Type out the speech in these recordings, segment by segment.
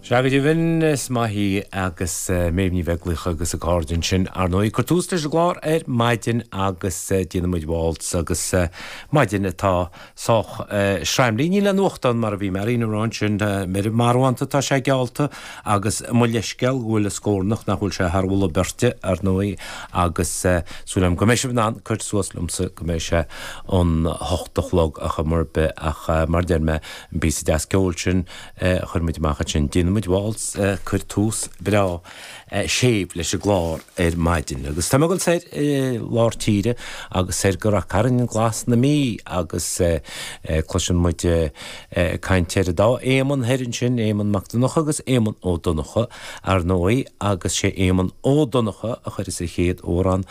Sea, go deimhin, is maith í agus Méabh Ní Bheaglaoich agus a cairde ansin, ar ndóigh. Ag cur tús leis an gclár ar maidin agus déanfaidh muid waltz agus maidin atá sách sraimlí. Níl aon nuacht ann mar a bhí Marion ag rá ansin, ar marbhánta atá sé geallta agus mo leithscéal go bhfuil an scornach nach bhfuil sé thar mholadh beirte, ar ndóigh, agus súil agam go mbeidh sibh in ann cur suas liomsa go mbeidh sé an hocht a chlog ar chuma ar bith ach mar a deir mé, an píosa deas ceoil sin a chuir muid amach ansin. Déanfaidh muid waltz, cuir tús breá séimh leis an gclár ar maidin. Agus tá mé ag dul soir i lár tíre agus soir go Rath Cairn Glas na Mí agus cloiseann muid caint ar an dá Éamonn thoir ansin, Éamonn Mac Donncha agus Éamonn Ó Donncha, ar ndóigh, agus sé Éamonn Ó Donncha a chuireas an chéad amhrán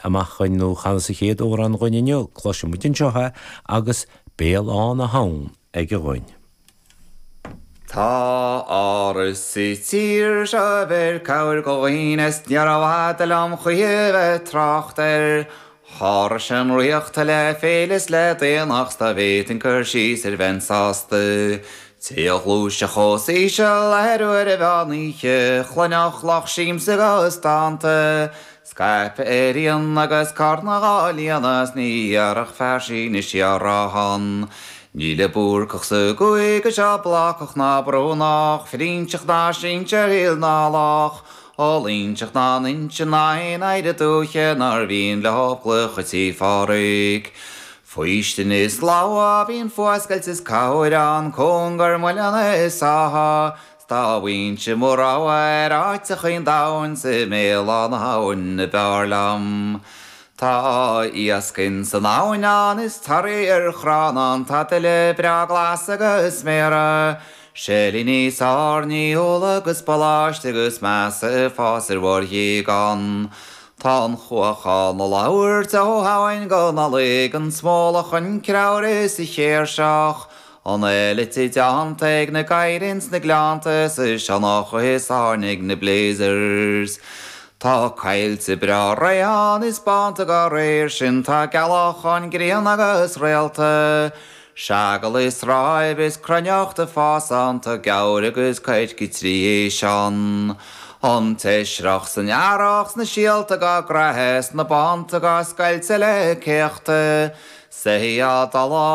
amach chugainn, nó a chanas an chéad amhrán dhuinn inniu. Cloiseann muid anseo é agus Béal Átha na hAbhann. aige dhuinn. Tá áras sa tír seo a bheir cabhair go dhaoine 's níorbh fhada liom choíche bheith trácht air. Sháraigh sé an ríocht le féile 's le daonnacht 's dá bhféadfainn cur síos air bheinn sásta. Té a ghluaisfeadh os íseal ar uair an mheán oíche chluinfeadh lucht siamsa agus dánta. Scaipthe ar fhíon agus carna dhá líonadh 's ní iarrfadh fear Sínis á rá ann. Níl an Búrcach sa gcúige seo blácach ná Brúnach, Frínseach ná sinsear shíl ná lách, Ó Loingseach ná Nuinseann ná aon oidhre dúiche nár mhian leo clocha Tí Phádhraic. Faoistin is slabhra bíonn fuascailt is cabhair ann, cóngar muileann is átha, 'S dá bhfaighinnse mo rogha ar áiteachaí an domhain 's i mBéal Átha na hAbhann ab fhearr liom. Tá iasc ins an abhainn ann is toraí ar chrann ann tá tuile breá glas agus méara, seilíní 's airní, úlla agus baláiste agus measa ag fás ar bharr ghéag ann. Tá an chuach á na labhairt ó Shamhain go Nollaig, an smólach, an creabhar is an chéirseach, An eilite déanta ag na gadhair ins na gleannta 's an sionnach is airne ag na blazers. Tá coillte breá réidh ann is bánta dá réir sin tá gealach ann grian agus réalta. Seagal is ráib is cruithneacht ag fás ann tá gabhair agus coirce 3 éis ann. An t-eisreach san earrach 's na síolta dhá gcraith 's na bánta dhá scoilteadh le céachta. Soithí á dtollá.